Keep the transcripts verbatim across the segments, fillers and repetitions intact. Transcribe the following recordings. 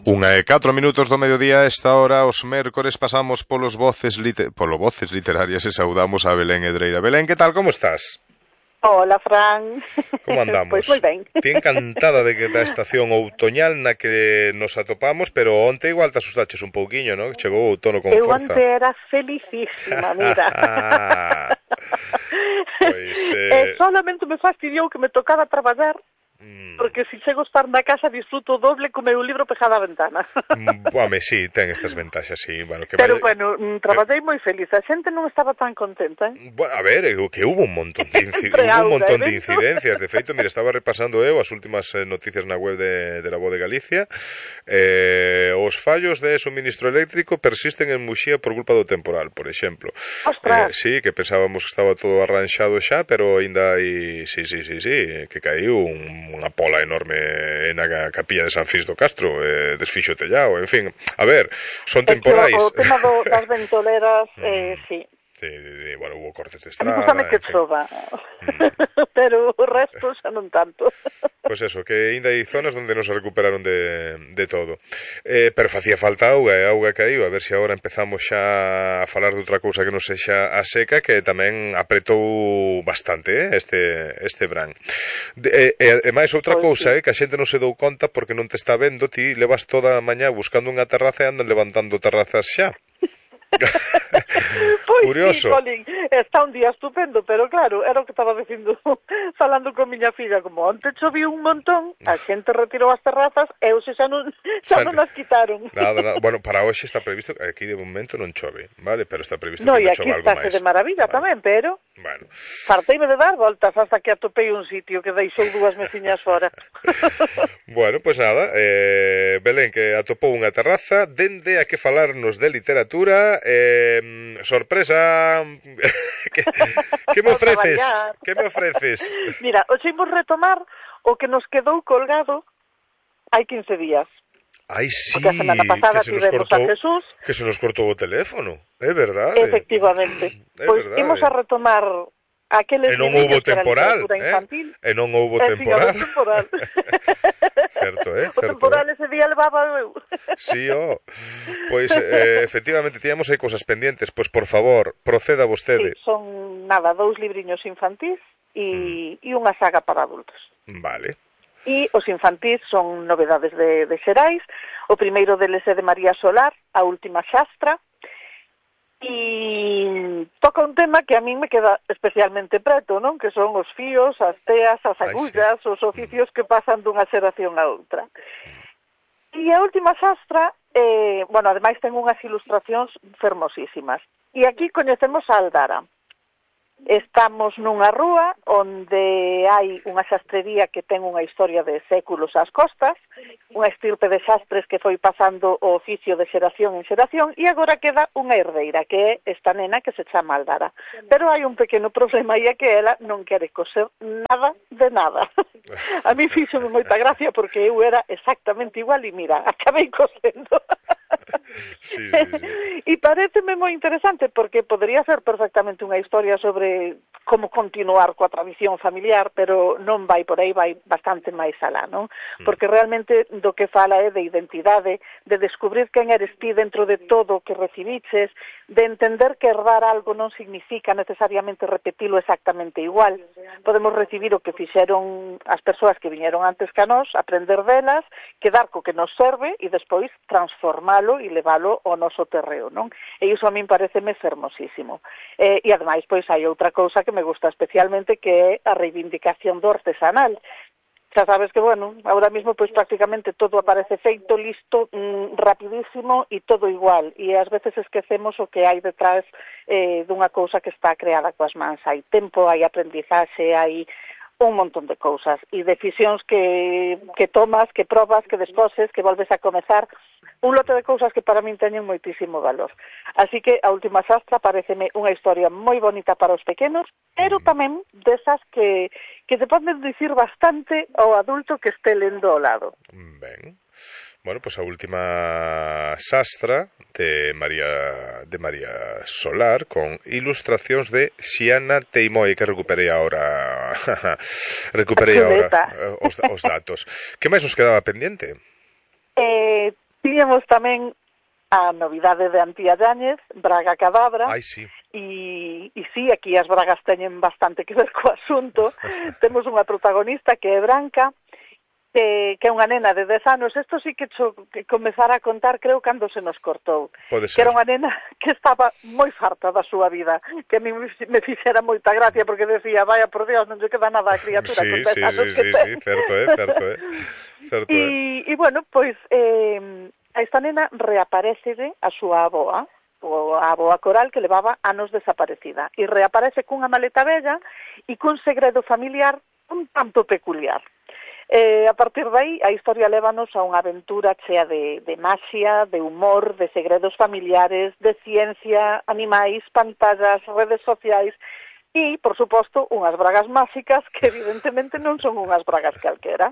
Unha e catro minutos do mediodía. Esta hora, os mércores, pasamos polos voces liter... polo voces literarias e saudamos a Belén Edreira. Belén, que tal, como estás? Hola, Fran. Como andamos? Pois moi ben. Ti encantada de que da estación outoñal na que nos atopamos, pero onte igual te asustaches un pouquiño, non? Chegou o outono con Eu forza. onte era felicísima, mira. Pois, eh... eh, solamente me fastidiou que me tocaba traballar, porque se chego a estar na casa disfruto doble co meu libro pegado á ventana. Home, sí, ten estas ventaxas, sí. Bueno, que Pero, vaya... bueno, traballei moi feliz. A xente non estaba tan contenta, eh? Bueno, a ver, que hubo un montón de, inci... hubo un montón de incidencias. De feito, mira, estaba repasando eu as últimas eh, noticias na web de, de la Voz de Galicia. Eh, os fallos de suministro eléctrico persisten en Muxía por culpa do temporal, por exemplo. Ostras! Eh, sí, que pensábamos que estaba todo arranxado xa, pero ainda hai... Sí, sí, sí, sí, que caiu un unha pola enorme na capilla de San Cis do Castro, eh, desfixo tellao, en fin, a ver, son temporais. O tema do, das ventoleras, eh, sí. Sí, bueno, hubo cortes de estrada. A mí gustame que chova, mm. pero o resto xa non tanto. Pois pues eso, que ainda hai zonas onde non se recuperaron de, de todo. Eh, pero facía falta auga, e a auga caíu, a ver se agora empezamos xa a falar de outra cousa que non sexa a seca, que tamén apretou bastante, eh, este, este verán. E, e, e máis outra pues cousa, sí. eh, que a xente non se dou conta porque non te está vendo, ti levas toda a mañá buscando unha terraza e andan levantando terrazas xa. Pois curioso. Sí, Colin, está un día estupendo, pero claro, era o que estaba dicindo, falando con miña filla, como onte choviu un montón, a xente retirou as terrazas e hoxe xa non, xa non as quitaron. Nada, nada. Bueno, para hoxe está previsto, aquí de momento non chove, vale, pero está previsto no, que chove algo máis. No, e aquí está de maravilla vale. Tamén, pero bueno. Farteime de dar voltas hasta que atopei un sitio que deixou dúas meciñas fora. Bueno, pois pues nada, eh, Belén, que atopou unha terraza, dende a que falarnos de literatura. Eh, sorpresa. que, que me ofreces? Que me ofreces? Mira, hoxe imos retomar o que nos quedou colgado hai quince días. Ai, sí, porque a semana pasada que se nos tivemos cortou, a Jesús. Que se nos cortou o teléfono, é verdade. Efectivamente. É pois verdade. imos a retomar aqueles e non houbo temporal, infantil. Eh? E non houbo eh, temporal. Sí, temporal. Certo, eh? O Certo, temporal eh? ese día levaba eu. Sí, oh. Pois, eh, efectivamente, tíamos aí cosas pendientes. Pois, por favor, proceda vostede. Sí, son, nada, dous libriños infantís e, mm. e unha saga para adultos. Vale. E os infantís son novedades de, de Xerais. O primeiro deles é de María Solar, A última xastra. E toca un tema que a min me queda especialmente preto, non? Que son os fíos, as teas, as agullas, Ai, sí. os oficios que pasan dunha xeración a outra. E a última xastra, eh, bueno, ademais ten unhas ilustracións fermosísimas. E aquí coñecemos a Aldara. Estamos nunha rúa onde hai unha xastrería que ten unha historia de séculos ás costas, unha estirpe de xastres que foi pasando o oficio de xeración en xeración e agora queda unha herdeira, que é esta nena que se chama Aldara. Pero hai un pequeno problema e é que ela non quere coser nada de nada. A mí fíxome moita gracia porque eu era exactamente igual e mira, acabei cosendo. Sí, sí, sí. E pareceme moi interesante porque podría ser perfectamente unha historia sobre como continuar coa tradición familiar, pero non vai por aí, vai bastante máis alá, non? Porque realmente do que fala é de identidade, de descubrir quen eres ti dentro de todo o que recibiches, de entender que herdar algo non significa necesariamente repetilo exactamente igual. Podemos recibir o que fixeron as persoas que viñeron antes que a nós, aprender delas, quedar co que nos serve e despois transformalo e leválo ao noso terreo, non? E iso a min pareceme fermosísimo. Eh, e ademais, pois, hai outra cousa que me gusta especialmente, que é a reivindicación do artesanal. Xa sabes que, bueno, ahora mismo, pois, prácticamente todo aparece feito, listo, mmm, rapidísimo e todo igual. E ás veces esquecemos o que hai detrás eh, dunha cousa que está creada coas mans. Hai tempo, hai aprendizaxe, hai un montón de cousas e decisións que, que tomas, que probas, que desposes, que volves a comezar, un lote de cousas que para min teñen moitísimo valor. Así que a última xastra pareceme unha historia moi bonita para os pequenos, pero tamén desas que, que te poden dicir bastante ao adulto que este lendo ao lado. Ben. Bueno, pues a última xastra de María de María Solar con ilustracións de Xiana Teimoi, que recuperei agora recuperei agora os, os datos. Que máis nos quedaba pendiente? Eh, Tiñamos tamén a novidade de Antía Yáñez, Braga Cadabra. Ai, sí. E, e sí, aquí as bragas teñen bastante que ver co asunto. Temos unha protagonista que é Branca, que, que é unha nena de dez anos. Isto sí que, cho, que comezara a contar, creo, cando se nos cortou. Pode ser. Que era unha nena que estaba moi farta da súa vida, que a mí me fixera moita gracia, porque decía, vaya, por Dios, non lle queda nada a criatura sí, con dez sí, anos sí, que sí, ten. sí, certo, eh, certo, eh. Certo, e, eh. e, bueno, pois, eh, a esta nena reaparece a súa aboa, o a aboa Coral, que levaba anos desaparecida, e reaparece cunha maleta bella e cun segredo familiar un tanto peculiar. Eh, a partir de aí, a historia lévanos a unha aventura chea de, de maxia, de humor, de segredos familiares, de ciencia, animais, pantallas, redes sociais e, por suposto, unhas bragas máxicas que evidentemente non son unhas bragas calquera.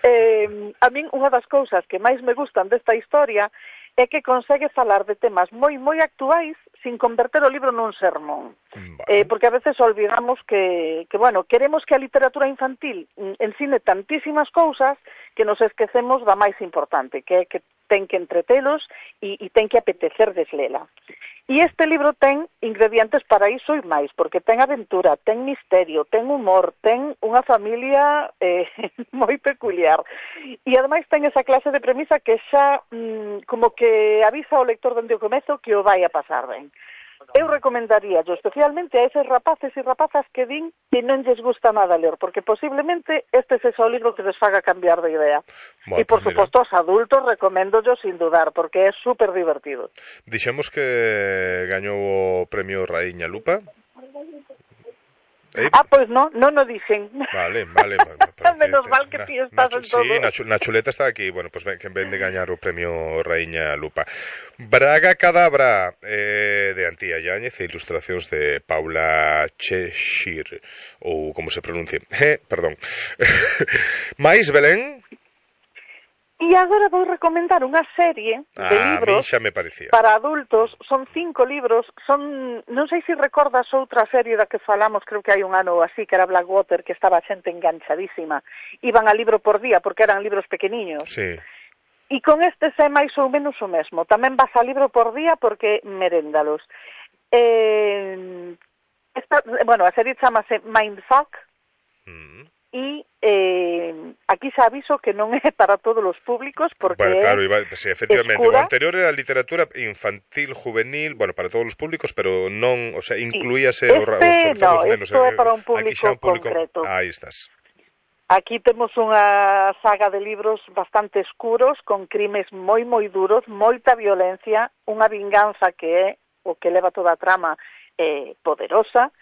Eh, a min, unha das cousas que máis me gustan desta historia é que consegue falar de temas moi, moi actuais sin converter o libro nun sermón. Vale. Eh, porque a veces olvidamos que, que, bueno, queremos que a literatura infantil ensine tantísimas cousas que nos esquecemos da máis importante, que é que ten que entretelos e, e ten que apetecer deslela. E este libro ten ingredientes para iso e máis, porque ten aventura, ten misterio, ten humor, ten unha familia eh, moi peculiar. E ademais ten esa clase de premisa que xa mm, como que avisa ao lector dende o comezo que o vai a pasar ben. Eu recomendaría yo especialmente a eses rapaces e rapazas que din que non lles gusta nada ler, porque posiblemente este é o libro que les faga cambiar de idea. Bueno, e, por pues suposto, aos adultos recomendo yo sin dudar, porque é super divertido. Dixemos que gañou o premio Raíña Lupa. ¿Eh? Ah, pois pues non, non o dixen. Vale, vale. Menos mal que ti estás en todo. Sí, na, na chuleta está aquí. Bueno, pues ven, que ven de gañar o premio Raíña Lupa. Braga Cadabra, eh, de Antía Yáñez e ilustracións de Paula Cheshire, ou como se pronuncie. Eh, perdón. Mais, Belén? E agora vou recomendar unha serie de ah, libros me parecía. para adultos. Son cinco libros. Son, non sei se recordas outra serie da que falamos, creo que hai un ano ou así, que era Blackwater, que estaba a xente enganchadísima. Iban a libro por día, porque eran libros pequeniños. Sí. E con estes é máis ou menos o mesmo. Tamén vas a libro por día porque meréndalos. Eh, esta, bueno, a serie chamase Mindfuck. Mm. E eh, aquí xa aviso que non é para todos os públicos porque bueno, claro, iba, sí, efectivamente, escura. O anterior era literatura infantil, juvenil, bueno, para todos os públicos, pero non, o sea, incluíase este, o, sobre todo no, os nenos. Isto é para un público, un público concreto. Aí estás. Aquí temos unha saga de libros bastante escuros, con crimes moi, moi duros, moita violencia, unha vinganza que é o que leva toda a trama eh, poderosa.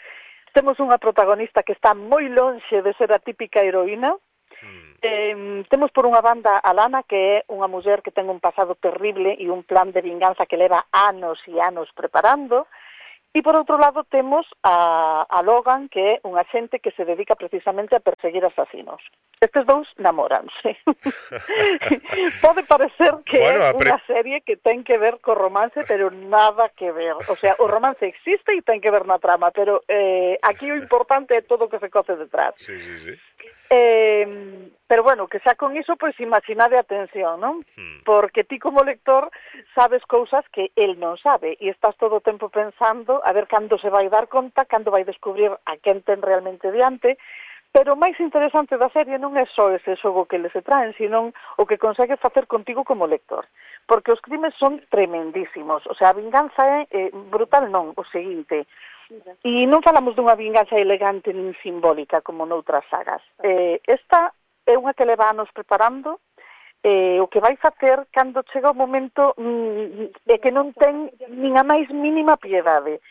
Temos unha protagonista que está moi lonxe de ser a típica heroína. Mm. Eh, temos por unha banda a Lana, que é unha muller que ten un pasado terrible e un plan de vinganza que leva anos e anos preparando. E por outro lado temos a, a Logan, que é un axente que se dedica precisamente a perseguir asasinos. Estes dous namoranse. Pode parecer que bueno, é pre... unha serie que ten que ver co romance, pero nada que ver. O sea, o romance existe e ten que ver na trama, pero eh, aquí o importante é todo o que se coce detrás. Sí, sí, sí. Eh, pero bueno, que xa con iso, pois imaginade a tensión, non? Hmm. Porque ti como lector sabes cousas que el non sabe e estás todo o tempo pensando a ver cando se vai dar conta, cando vai descubrir a quen ten realmente diante, pero o máis interesante da serie non é só ese xogo que les traen, sino o que consegue facer contigo como lector. Porque os crimes son tremendísimos, o sea, a vinganza é eh, brutal non, o seguinte. E non falamos dunha vinganza elegante nin simbólica como noutras sagas. Eh, esta é unha que leva anos preparando, eh, o que vai facer cando chega o momento mm, é que non ten nin a máis mínima piedade.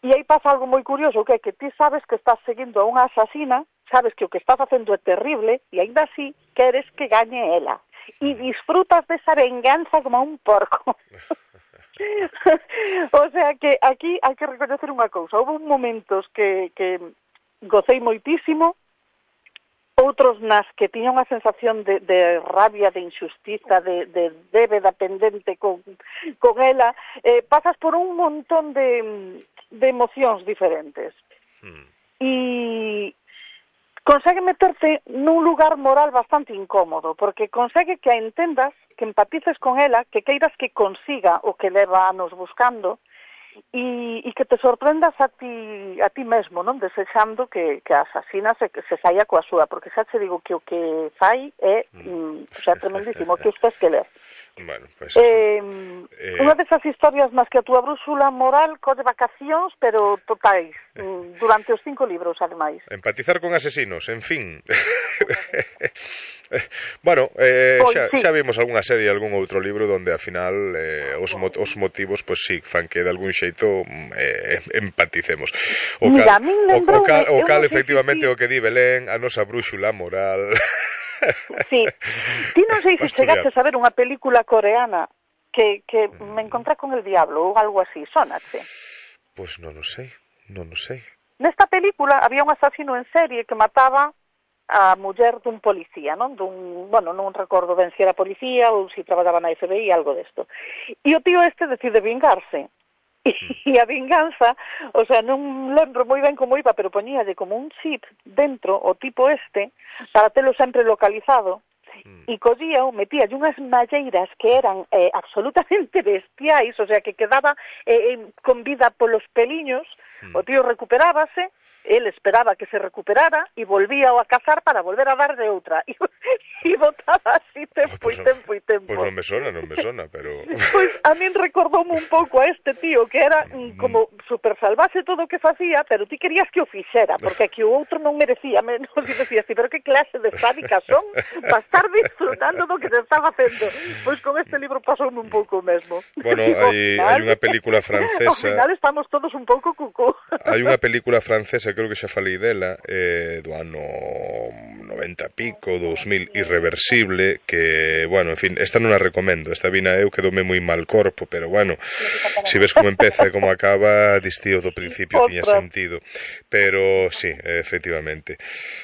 E aí pasa algo moi curioso, que é que ti sabes que estás seguindo a unha asasina, sabes que o que está facendo é terrible, e ainda así queres que gañe ela. E disfrutas desa venganza como un porco. O sea que aquí hai que reconocer unha cousa. Houve momentos que, que gocei moitísimo, outros nas que tiña unha sensación de, de rabia, de injustiza, de, de débeda pendente con, con ela. Eh, pasas por un montón de, de emocións diferentes. Hmm. E consegue meterte nun lugar moral bastante incómodo, porque consegue que a entendas, que empatices con ela, que queiras que consiga o que leva anos buscando, e, e que te sorprendas a ti, a ti mesmo, non? Desexando que, que a asasina se, se saia coa súa, porque xa te digo que o que fai é mm, o sea, tremendísimo, que usted que ler. Bueno, pues eh, eh... unha desas historias nas que a túa brúxula moral colle vacacións, pero totais, durante os cinco libros, ademais. Empatizar con asesinos, en fin. Bueno, eh, pois, xa, sí. xa vimos algunha serie, algún outro libro donde ao final eh, os, mo os motivos, pois pues, sí, fan que de algún xeito eh, empaticemos. O Mira, cal, a min lembrou, o, o cal, o cal no efectivamente si... o que di Belén, a nosa brúxula moral. Sí. Ti non sei se chegaste a ver unha película coreana que, que me encontré con el diablo ou algo así, sonache? Pois pues non o sei, non o sei. Nesta película había un asasino en serie que mataba a muller dun policía, non? Dun, bueno, non recordo ben se era policía ou se traballaba na F B I, algo desto. E o tío este decide vingarse. E a vinganza, o sea, non lembro moi ben como iba, pero poñíalle como un chip dentro o tipo este para telo sempre localizado. E collía o metíalle unhas malleiras que eran eh, absolutamente bestiais, o sea, que quedaba eh, con vida polos peliños, o tío recuperábase, él esperaba que se recuperara e volvía a cazar para volver a dar de outra. E, e botaba así tempo pues e tempo e tempo. Pois pues non me sona, non me sona, pero... Pois a min recordoume un pouco a este tío que era mm, como super salvaxe todo o que facía, pero ti querías que o fixera, porque que o outro non merecía menos, e decías, pero que clase de sádicas son para estar disfrutando do que se está facendo. Pois con este libro pasoume un pouco o mesmo. Bueno, hai, hai unha película francesa... Ao final estamos todos un pouco cucú. Hai unha película francesa, creo que xa falei dela, eh, do ano noventa pico, dous mil, Irreversible, que, bueno, en fin, esta non a recomendo, esta vina eu quedoume moi mal corpo, pero bueno, se si ves como empeza e como acaba, distío do principio tiña sentido, pero sí, efectivamente.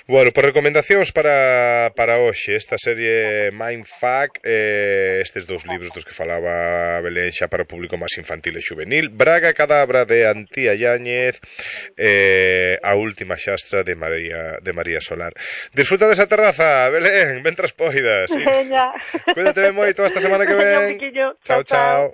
Bueno, por recomendacións para, para hoxe, esta serie Mindfuck, eh, estes dous libros dos que falaba Belén xa para o público máis infantil e juvenil, Braga Cadabra de Antía Yáñez, eh, a última xastra de María, de María Solar. Disfruta desa terraza, Belén, mentras poidas. Sí. Cuídate moito esta semana que ven. Chao, chao.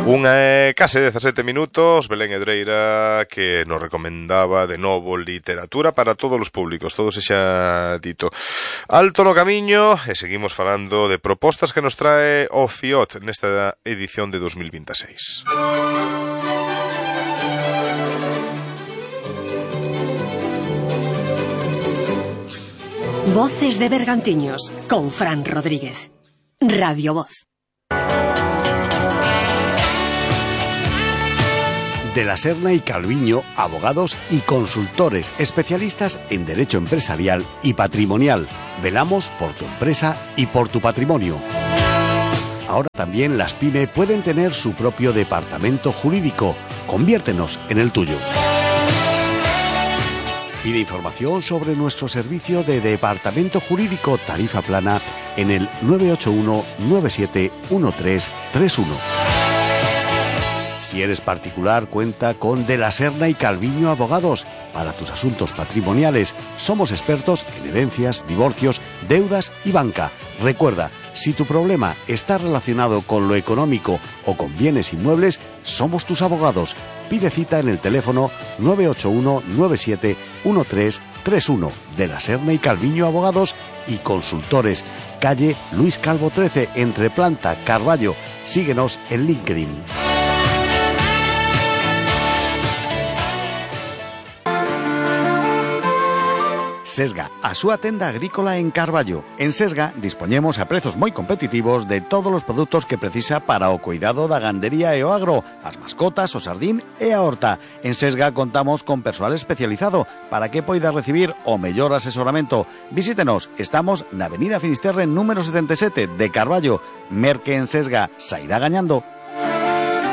Unha e case dezasete minutos, Belén Edreira, que nos recomendaba de novo literatura para todos os públicos, todo se xa dito. Alto no camiño, e seguimos falando de propostas que nos trae o Fiot nesta edición de dos mil veintiséis. Voces de Bergantiños, con Fran Rodríguez. Radio Voz. De la Serna y Calviño, abogados y consultores especialistas en derecho empresarial y patrimonial. Velamos por tu empresa y por tu patrimonio. Ahora también las PYME pueden tener su propio departamento jurídico. Conviértenos en el tuyo. Pide información sobre nuestro servicio de departamento jurídico tarifa plana en el nueve ocho uno nueve siete uno tres tres uno. Si eres particular, cuenta con De la Serna y Calviño Abogados. Para tus asuntos patrimoniales, somos expertos en herencias, divorcios, deudas y banca. Recuerda, si tu problema está relacionado con lo económico o con bienes inmuebles, somos tus abogados. Pide cita en el teléfono nueve ocho uno nueve siete uno tres tres uno. De la Serna y Calviño Abogados y Consultores. Calle Luis Calvo trece, entre Planta, Carballo. Síguenos en LinkedIn. Sesga, a súa tenda agrícola en Carballo. En Sesga dispoñemos a prezos moi competitivos de todos os produtos que precisa para o cuidado da gandería e o agro, as mascotas, o sardín e a horta. En Sesga contamos con persoal especializado para que poida recibir o mellor asesoramento. Visítenos, estamos na Avenida Finisterre número setenta e sete de Carballo. Merque en Sesga, sairá gañando.